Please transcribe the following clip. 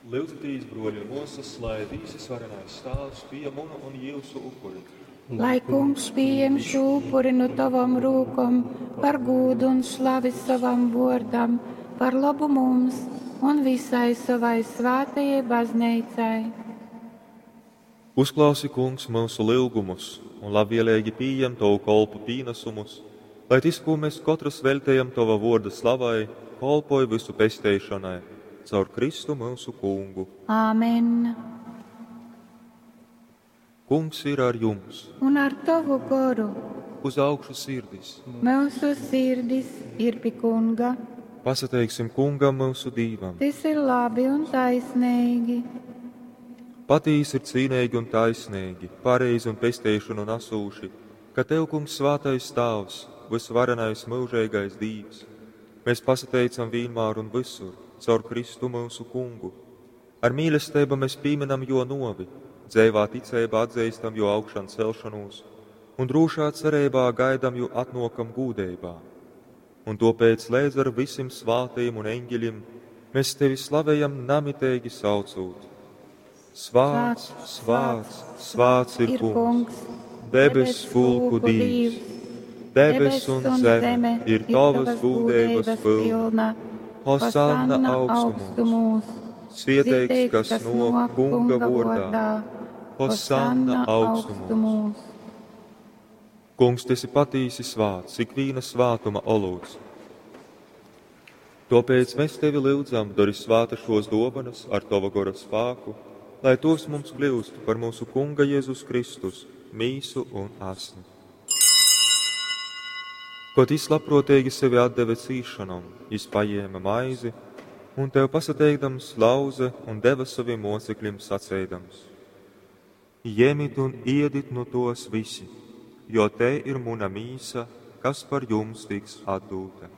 Lyudzitīs, bruoļi un muosys, lai Dīvs Varenais Tāvs pījem munu un jiusu upuri. Lai Kungs pījem šū upuri nu tovom rūkom par gūdu un slavi sovam vuordam, par lobu mums un visai sovai svātajai bazneicai. Uzklausi, Kungs, myusu lyugumus un labvieleigi pījem tovu kolpu pīnasumus, lai tys, kū mēs kotrys veļtejam tova vuorda slavai, kolpoj vysu pesteišonai caur Kristu myusu Kungu. Āmen. Kungs ir ar jums! Un ar tovu goru Uz augšu sirdis! Myusu sirdis ir pi Kunga. Pasateiksim Kungam myusu Dīvam! Tys ir labi un taisneigi. Patīsi ir cīneigi un taisneigi, pareizi un pesteišonu nasūši, ka Tev, Kungs, svātais Tāvs, vysvarenais myužeigais Dīvs, mēs pasateicam vīnmār un vysur, caur Kristu myusu Kungu. Ar mīlesteibu mēs pīminam Juo nuovi, dzeivā ticeibā atzeistam Juo augšancelšonūs un drūšā cereibā gaidam Jū atnuokam gūdeibā. Un tuopēc leidz ar vysim svātajim un eņģeļim mēs Tevi slavejam namiteigi saucūt: Svāts, svāts, svāts ir Kungs, debess pulku Dīvs. Debess un zeme ir Tovas gūdeibas pylna. Hosanna augstumūs! Svieteigs, kas nok Kunga vuordā. Hosanna augstumūs! Kungs, tu esi patīsi svāts, ikvīna svātuma olūts. Tōpēc mēs tevi lyudzam, dori svāta šos dōvanas ar tova gora spāku, lai tos mums kļūst par mūsu Kunga Jēzus Kristus mīsu un asni. Kod jis labprōteigi sevi atdeve cīsšonom, jis pajēma maizi un tev pasateikdams lauze un deva sovim mocekļim saceidams: Jemit un iedit nu tos visi, jo te ir muna mīsa, kas par jums tiks atdūta.